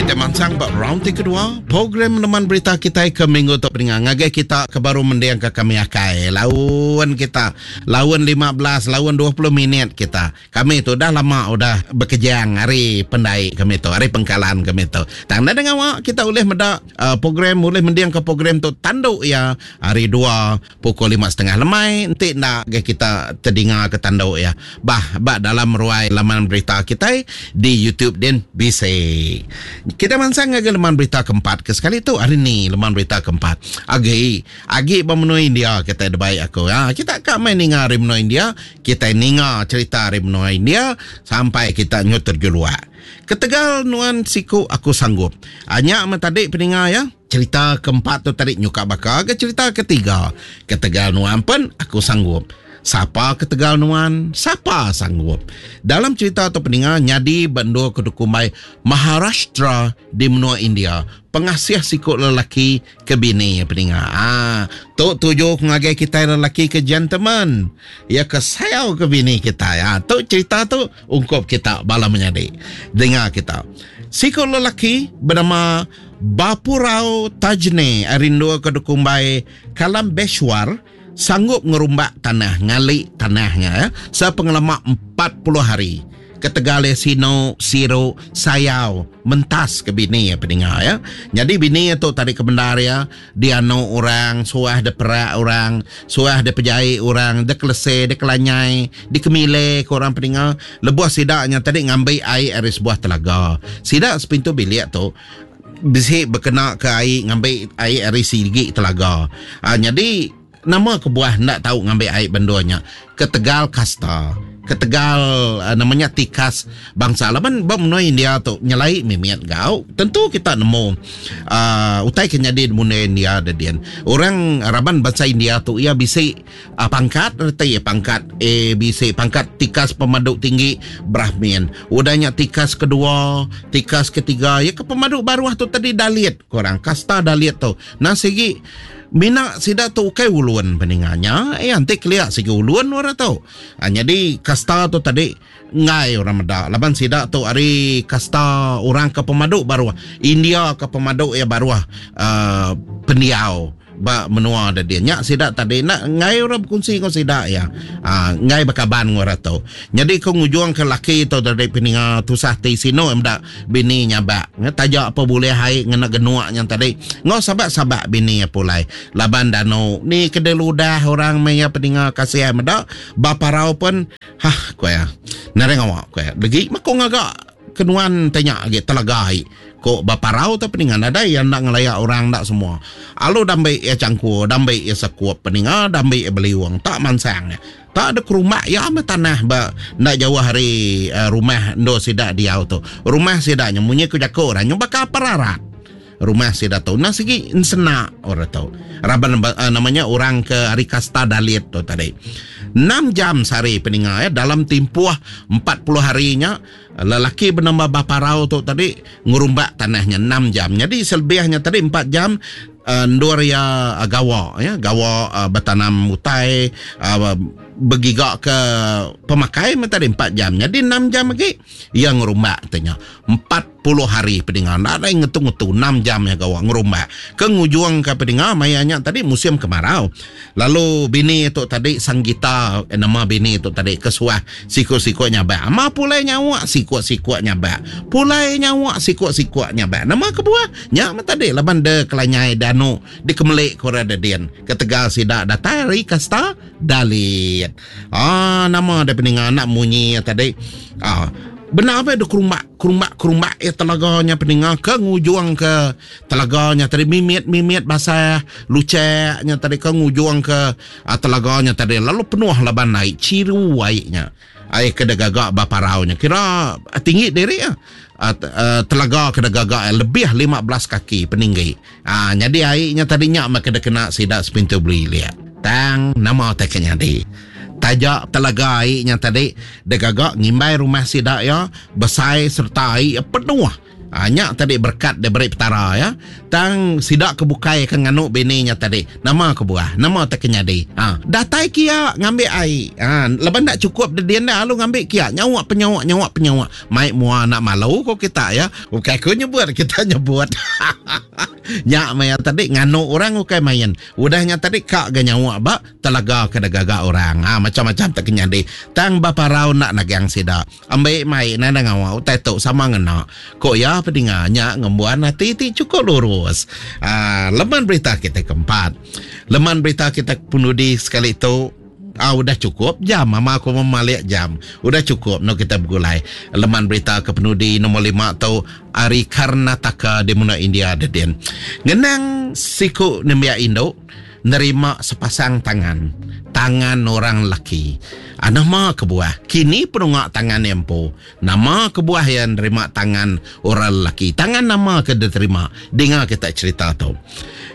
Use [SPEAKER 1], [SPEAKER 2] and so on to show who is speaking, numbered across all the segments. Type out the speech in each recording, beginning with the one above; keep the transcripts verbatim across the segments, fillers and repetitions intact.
[SPEAKER 1] Kita mansang ba round ti kedua program Leman Berita kita ke minggu tu peninga ngagai kita ke baru mendiang ke kami akai laun kita laun lima belas laun dua puluh minit kita. Kami tu dah lama udah bekejang hari pendai kami tu, hari pengkalan kami tu. Tang dah ngawak kita boleh meda uh, program, boleh mendiang ke program tu tanduk ya hari dua pukul lima setengah lemai enti nak kita terdingar ke tanduk ya. Bah ba dalam ruai laman berita kita di YouTube din bisa. Kita mansang ngagai leman berita keempat ke sekali tu hari ni leman berita keempat. Agi agi ba menua India kita ada baik aku. Ha, kita kak main ninga hari menua India, kita ninga cerita hari menua India sampai kita nyut terjeluak. Ketegal nuan siku aku sanggup. Hanya ah, tadi peninga ya. Cerita keempat tu tadi nyuka baka ke cerita ketiga. Ketegal nuan pun aku sanggup. Siapa ketegal nuan, siapa sanggup. Dalam cerita tu peninga nyadi bendua kedukumbai Maharashtra di menua India. Pengasih sikut lelaki ke bini peninga. Ah, tu tuju ngagai kita lelaki ke gentleman. Ya ke sayau ke bini kita. Ah, tu cerita tu ungkup kita bala menyadi. Dengar kita. Sikut lelaki bernama Bapurao Tajne arindua kedukumbai Kalam Beshwar sanggup ngerumbak tanah, ngalik tanahnya ya, sepengelama empat puluh hari. Ketegal sino, siru, sayau, mentas ke bini ya peninga ya. Jadi bini tu tadi kebendar ya, dia anu orang, suah de perak orang, suah de pejai orang, de kelese, de kelanyai, de kemile ke orang peninga. Lebuh sidaknya tadi ngambil air dari sebuah telaga. Sidak sepintu bilik tu bisi berkena ke air, ngambil air dari sigi telaga. Ha, jadi nama kebuah nak tahu ngambil air benduanya ketegal kasta, ketegal uh, namanya tikas bangsa. Laban ba menua India tu nyelai mimiat gau. Tentu kita nemu uh, utai ke nyadi menua India dedian. Orang raban bangsa India tu ia bisi uh, pangkat reti pangkat A B C, pangkat tikas pemaduk tinggi Brahmin. Udahnya tikas kedua, tikas ketiga, ya ke pemaduk baruah tu tadi Dalit korang, kasta Dalit tu. Nah segi mina sida tu ukai uluan peninganya, eh anti keliak segi uluan orang tu. Ha, jadi kasta tu tadi ngai orang meda. Laban sida tu ari kasta orang ke pemaduk baru India ke pemaduk ya baru uh, pendiau ba menua ada dia. Nyak sida tadi nak ngai orang berkongsi kau sida ya. Ah ha, ngai bekaban orang tu. Jadi kau ngujung ke laki tu dari peninga tusah ti sino emdak bini nyabak. Tajak apa boleh hai ngena genuak yang tadi. Ngau sabak-sabak bini ya pulai. Laban dano ni kede ludah orang maya peninga kasih medak baparau pun hah ko ya. Nareng awak ko ya. Lagi mako ngagak kenuan tanya agi telagai. Kok baparau tu peningan ada yang nak ngelayak orang nak semua. Alu dambe ya cangkur, dambe ya sekuap peningan, dambe ya beli uang tak mansang. Tak ada kerumak ya ama tanah ba nak jauh hari uh, rumah ndo sidak dia tu. Rumah sidaknya munyi ku jaku orang nyoba ka pararat. Rumah sidak tu nah segi senak orang tu. Raban uh, namanya orang ke hari kasta Dalit tu tadi. enam jam sehari peningan ya dalam tempoh empat puluh harinya lelaki bernama Baparau tu tadi ngerumbak tanahnya enam jam. Jadi selebihnya tadi empat jam uh, ndur ya uh, gawa ya gawa uh, bertanam utai uh, bergigak ke pemakai tadi empat jam. Jadi enam jam lagi yang ngerumbak tanya. empat puluh hari peningan. Tak ada yang ngetu-ngetu enam jam ya gawa ngerumbak. Ke ngujuang ke peningan mayanya tadi musim kemarau. Lalu bini tu tadi Sanggita eh, nama bini tu tadi kesuah siku-siku nyabak. Ama pulai nyawa siku-siku nyabak. Pulai nyawa siku-siku nyabak. Nama kebuah nyak tadi laban de kelanyai danu di kemelik kora dedian. Ketegal sidak datai ri kasta Dalit. Ah nama dia peningan anak munyi tadi. Ah benar apa dia kerumbak kerumbak kerumbak ya telaganya peningan ke ngujuang ke telaganya tadi mimit-mimit basah luceknya tadi ke ngujuang ke ah, telaganya tadi lalu penuh laban naik ciru airnya. Air kena gagak baparaunya kira tinggi diri ya. Uh, uh, telaga kena gagak lebih lima belas kaki peninggi. Ah jadi airnya tadi nyak maka kena kena sidak sepintu beli lihat. Tang nama tak kena di. Tajak telaga airnya tadi dia gagak ngimbai rumah sidak ya besai serta air penuh. Ha, nyak tadi berkat dia beri petara ya. Tang sidak kebukai ke nganu bininya tadi. Nama kebuah, nama tak kenyadi. Ha, datai kia ngambil air. Ha, leban tak cukup dia dia lalu ngambil kia. Nyawak penyawak, nyawak penyawak. Mai mua nak malu ko kita ya. Bukan aku nyebut, kita nyebut. Nyak maya tadi nganu orang ukai main. Udahnya tadi kak ga nyawak ba telaga ke gagak orang. Ha, macam-macam tak kenyadi. Tang baparau nak nagang sida. Ambil mai nanda ngawak utai tu sama ngena. Kok ya pedinga nyak ngembuan hati ti cukup lurus. Ah, leman berita kita keempat. Leman berita kita penudi sekali tu. Ah, udah cukup jam. Mama aku memalik jam. Udah cukup no kita bergulai. Leman berita ke penudi nombor lima tu ari Karnataka di menua India dedin. Ngenang siku nembiak induk nerima sepasang tangan. Tangan orang laki. Ah, nama kebuah. Kini penungak tangan empu. Nama kebuah yang nerima tangan orang laki. Tangan nama ke diterima. Dengar kita cerita tu.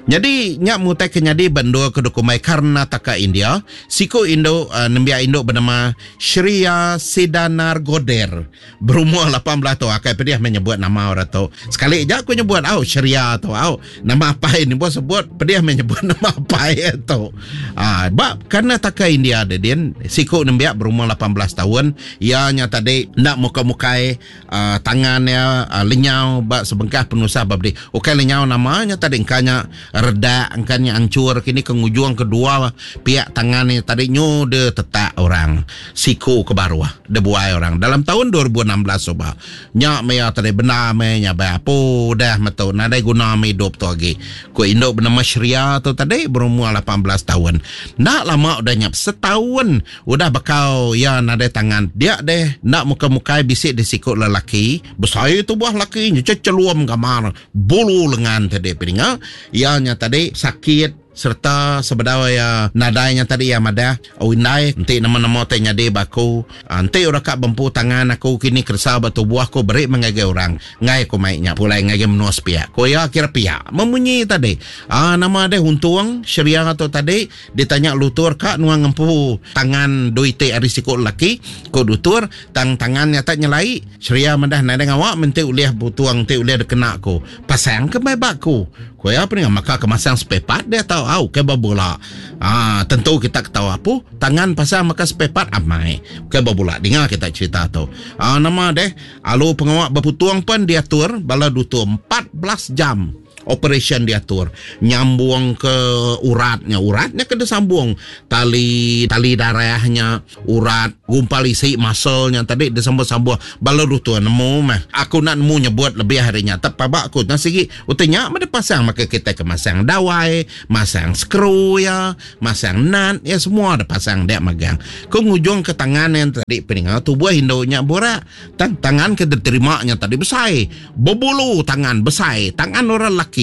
[SPEAKER 1] Jadi nyak mutai kenyadi bendua ke dokumen Karnataka India. Siku induk uh, nembiak induk bernama Shriya Sidanar Goder. Berumur lapan belas tahun. Akai pediah menyebut nama orang tu. Sekali je aku nyebut au Shriya tu au. Nama apa ini buat sebut pediah menyebut nama apa itu. Ah, bab Karnataka India dedin siku nembiak berumur lapan belas tahun. Ianya tadi nak muka-mukai uh, tangannya uh, lenyau bak sebengkah penusah babdi. Okey lenyau namanya tadi engkanya redak engkanya hancur kini ke ujung kedua pihak tangannya tadi nyu de tetak orang siku ke baruah de buai orang dalam tahun dua ribu enam belas soba. Nyak maya tadi benar me nya ba apa dah metu nadai guna me hidup tu lagi. Ku induk bernama Shriya tu tadi berumur lapan belas tahun. Nak lama udah nyap setahun udah bekau ya nadai tangan. Dia deh nak muka-mukai bisik di sikut lelaki. Besai tu buah laki celuam gamar bulu lengan tadi peninga. Ianya tadi sakit serta sebedau ya nadainya tadi ya madah oh indai enti nama-nama te nyadi baku enti ora kak bempu tangan aku kini kersa batu buah ku beri mengagai orang ngai ku mai nya pulai ngagai menua sepiak ko ya kira piak memunyi tadi ah nama dia untung Shriya tu tadi ditanya lutur kak nuang ngempu tangan duite ari sikut laki ko dutur tang tangannya tak nyelai Shriya madah nadai ngawak menti uliah butuang ti uliah dikena ku pasang ke mai baku ko ya apa ni maka kemasang sepepat dia tahu au ke babula. Ah tentu kita ketawa apa tangan pasang maka sepepat amai ke babula dengar kita cerita tu. Ah nama deh alu pengawak berputuang pun diatur bala dutur empat belas jam operation diatur nyambung ke uratnya uratnya kena sambung tali tali darahnya urat gumpal isi muscle-nya tadi disambung-sambung bala dutur nemu mah aku nak nemu nyebut lebih harinya tepabak aku nak sigi utenya mah pasang maka kita ke masang dawai masang skru ya masang nut ya semua ada pasang dia magang ku ngujung ke tangan yang tadi peningal tubuh induknya borak tang tangan ke diterimanya tadi besai berbulu tangan besai tangan orang laki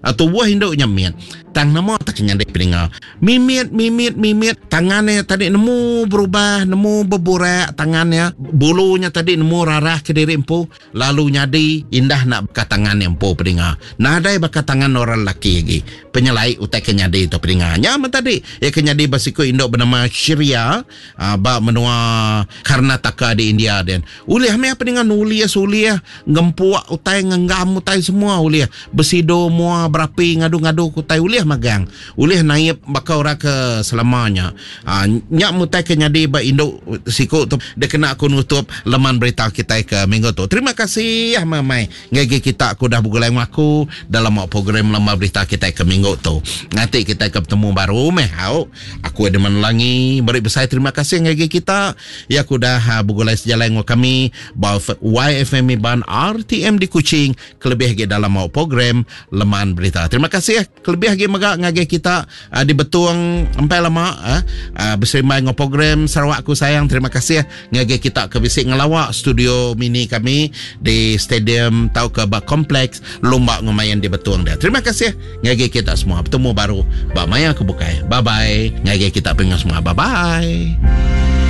[SPEAKER 1] atau buah induknya miat tang nama tak kenyang dek peningal mimit mimit mimit tangannya tadi nemu berubah nemu berburak tangannya bulunya tadi nemu rarah ke diri empu lalu nyadi indah nak baka tangan empu peningal nadai baka tangan orang laki lagi penyelai utai kenyadi tu peningal nya tadi ya kenyadi basiku induk bernama Shriya uh, ba menua Karnataka di India den ulih me peningal nulis ulih ngempuak utai ngenggam utai semua ulih bersido mua berapi ngadu-ngadu kutai ulih magang ulih naib bakal orang ke selamanya ha, nyak mutai ke nyadi ba induk siku tu dia kena aku nutup leman berita kita ke minggu tu. Terima kasih ya mamai ngagi kita aku dah bergulai dengan aku dalam program leman berita kita ke minggu tu. Nanti kita ke bertemu baru meh au. Aku ada menelangi beri besar terima kasih ngagi kita ya aku dah ha, bergulai sejalan dengan kami ba Y F M Iban R T M di Kuching kelebih lagi dalam program leman berita. Terima kasih kelebih lagi megak ngagi kita uh, di Betung empai lama uh, uh, bersama dengan program Sarawakku Sayang. Terima kasih ngagi kita ke bisik ngelawak studio mini kami di stadium tau ke bak kompleks Lumba Ngumayan di Betung dia. Terima kasih ngagi kita semua. Bertemu baru bak maya kebukai. Bye bye. Ngagi kita pengen semua. Bye bye.